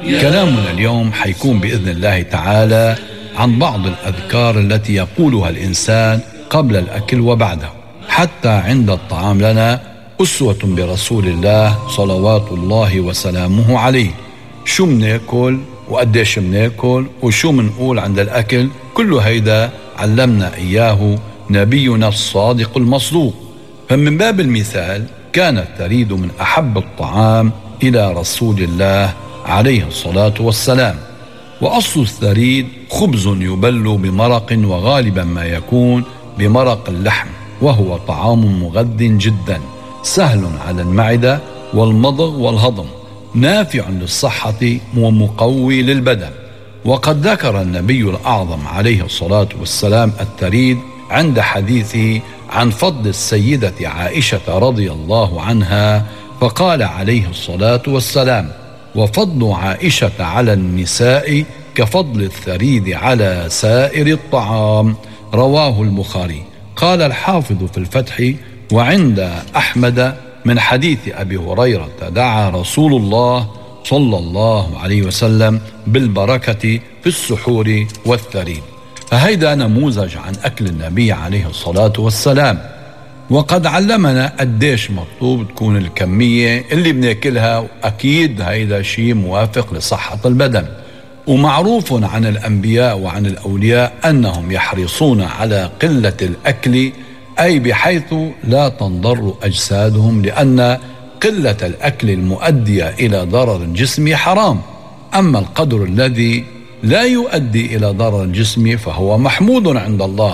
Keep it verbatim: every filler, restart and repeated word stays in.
كلامنا اليوم حيكون بإذن الله تعالى عن بعض الأذكار التي يقولها الإنسان قبل الأكل وبعده، حتى عند الطعام لنا أسوة برسول الله صلوات الله وسلامه عليه. شو مناكل وقديش مناكل وشو منقول عند الأكل، كل هيدا علمنا إياه نبينا الصادق المصدوق. فمن باب المثال كان الثريد من أحب الطعام إلى رسول الله عليه الصلاة والسلام. وأصل الثريد خبز يبل بمرق، وغالبا ما يكون بمرق اللحم، وهو طعام مغذ جدا سهل على المعدة والمضغ والهضم، نافع للصحة ومقوي للبدن. وقد ذكر النبي الأعظم عليه الصلاة والسلام الثريد عند حديثه عن فضل السيدة عائشة رضي الله عنها، فقال عليه الصلاة والسلام: وفضل عائشة على النساء كفضل الثريد على سائر الطعام، رواه البخاري. قال الحافظ في الفتح: وعند أحمد من حديث أبي هريرة دعا رسول الله صلى الله عليه وسلم بالبركة في السحور والثريد. فهيدا نموذج عن أكل النبي عليه الصلاة والسلام. وقد علمنا قديش مطلوب تكون الكمية اللي بناكلها، وأكيد هيدا شيء موافق لصحة البدن. ومعروف عن الأنبياء وعن الأولياء أنهم يحرصون على قلة الأكل، أي بحيث لا تنضر أجسادهم، لأن قلة الأكل المؤدية إلى ضرر الجسم حرام. أما القدر الذي لا يؤدي إلى ضرر الجسم فهو محمود عند الله.